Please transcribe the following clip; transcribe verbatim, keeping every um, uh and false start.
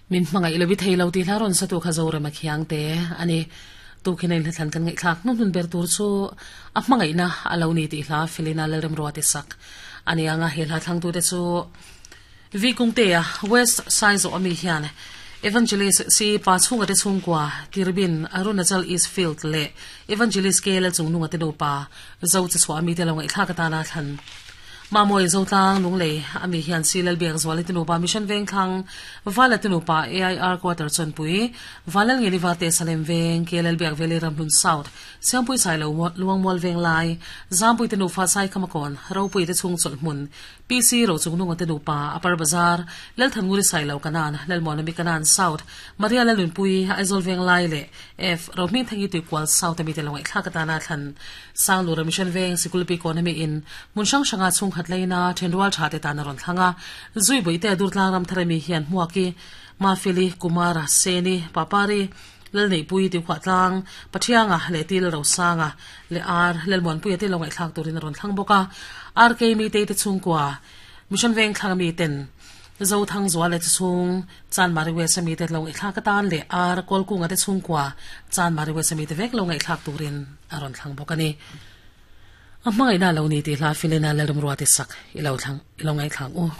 Min hmangaih lovi thei lo tih hla rawn sa tu kha Zorema khiang te a ni. Tukhin a inhla-thlan kan ngaihthlak hnuhnun ber tur chu a hmangaihna a lo ni tih hla Felina Lalremruati sak a ni ang a, he hla thlangtute chu Vi Kungtea, West Saizawh ami hian Evangelist C Pa chhunga te chhungkua Tirbin, Arunachal East Field leh Evangelist K Lalchungnunga te nupa Zo Chachhuah ami te lo ngaihthlak atana thlan Mamawii Zotlang Lunglei a mi hian Si Lalbiak Zuali te nupa Mission Vengthlang Vala te nupa A I R Quarter Chawnpui Valal Ngeli Vate Salem Veng K Lalbiak Valley Ramhlun South Siangpui Sailo Luangmual Venglai Zampui te nufa Saikhamakawn Ropui te chhung Chawlhhmun P C Rochungnunga te nupa Upper Bazar Lalthannguri Sailo Kanan Lalmuanami Kanan South Maria Lalnunpui Aizawl Venglai leh F Rohmingthangi Tuikual South a mite lo ngaihthlak atana thlan Sanglura Mission Veng Sikulpi kawn ami in hmun hrang hranga chhungkhat laina thenrual tha te tan a rawn thlang a. Zui Buite Durtlang ram thar ami hian Hmuaki, Mafeli, Kumara, Seni, Papari, Lalneihpui, Tiukhuahtlang, Pathianga leh Til Rosanga leh Ar Lalmuanpuia te lo ngaihthlak turin a rawn thlang bawk a. R K Mitei te chhungkua Mission Veng thlang ami ten Zothang Zual leh chhung Chanmari West ami te lo ngaihthlak atan leh Ar Kawlkunga te chhungkua Chanmari West ami te vek lo ngaihthlak turin a rawn thlang bawk a ni. A hmangaihna lo ni tih hla Felina Lalremruati sak i lo thlang i lo ngaihthlak u.